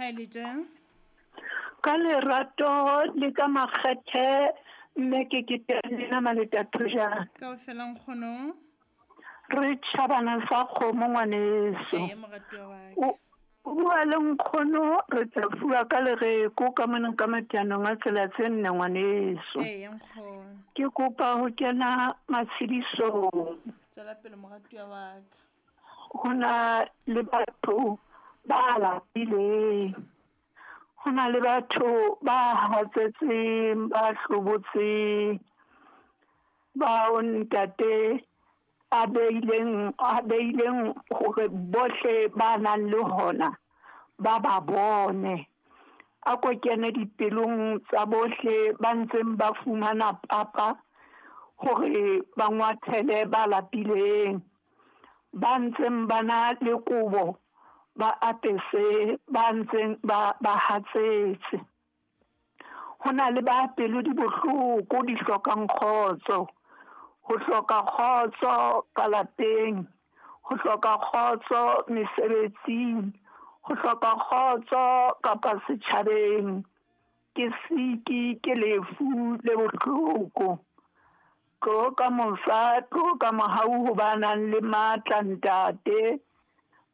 Ha e le tje. Ka lerato le ka makgethe mme ke ke lena Maletathojana. Kaofela nkgono. Re tjhabana sa kgomo ngwaneso. Eya moratuwa wa ka. O bua le nkgono re tla fuwa ka lereko ka mona ka matianong a tsela tse nne ngwaneso. Eya nkgono. Ke kopa ho kena matshedisong. Tswela pele moratuwa wa ka. Ho na le batho ba lapileng. Ho na le batho ba hatsetseng, ba hlobotseng, bao ntate a beileng hore bohle ba nang le hona ba ba bone. A ko kene dipelong tsa bohle ba ntseng ba fumana papa hore ba ngwathele ba lapileng, ba ntseng ba na le kobo ba apese ba ntseng ba hatsetse. Ho na le ba pelo di bohloko di hlokang kgotso, ho hloka kgotso ka lapeng, ho hloka kgotso mesebetsing, ho hloka kgotso kapa setjhabeng. Ke siki, ke lefu le bohloko. Tlo ka mosa, tlo ka mohau ho ba nang le matla ntate,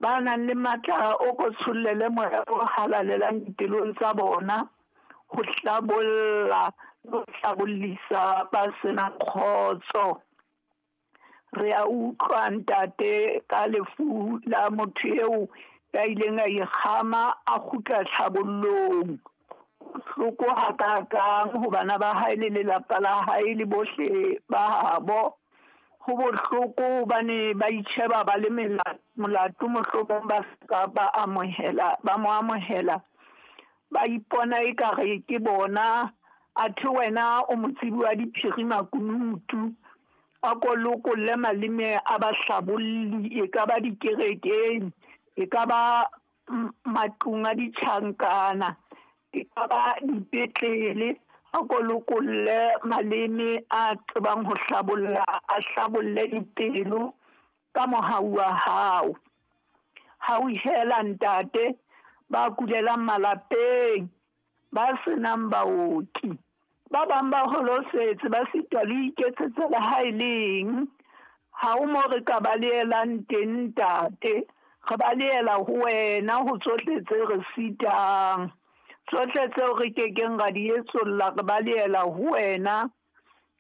ba nang le matla o ko tshollele moya o halalelang dipelong tsa bona, ho hlabolla le ho hlabollisa ba senang kgotso. Re a utlwa ntate ka lefu la motho eo ya ileng a ikgama a kgutla tlhabollong. Bohloko hakakang ho bana ba hae le lelapa la hae le bohle ba habo. Ho bohloko hobane ba itjheba ba le molato, mohlomong ba ska ba amohela, ba mo amohela, ba ipona ekare ke bona. Athe wena o motsebi wa diphiri makunutu. A ko lokolle maleme a bahlabolli, e ka ba dikerekeng, e ka ba matlung a ditjhankana, e ka ba dipetlele. A ko lokolle maleme a tsebang ho hlabolla, a hlabolle dipelo ka mohau wa hao. Hauhela ntate ba kulelang malapeng, ba senang baoki, ba bang ba holofetse, ba sitwa le ho iketsetsa le ha e leng. Ha o mo re ka balehelang teng ntate, re balehela ho wena ho tsohle tse re sitang, tsohle tseo re kekeng ra di etsolla, re balehela ho wena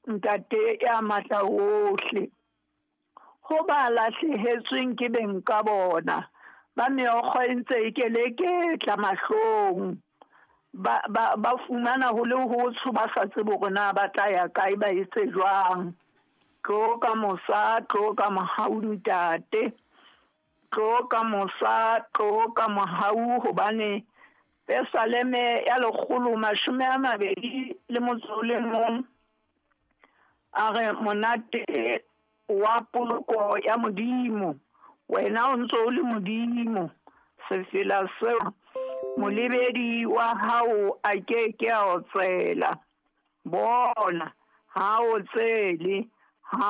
ntate ya matla ohle. Ho ba lahlehetsweng ke beng ka bona, ba meokgo e ntse e keleketla mahlong, ba fumana ho le hotsho, ba sa tsebe hore na ba tla ya kae, ba etse jwang. Tlo ka mosa, tlo ka mohau ntate, tlo ka mosa, tlo ka mohau, hobane Pesaleme ya 121 a re monate wa poloko ya Modimo, wena o ntso o le Modimo. Sefela seo molebedi wa hao a ke ke a otsela, bona ha o tsele ha.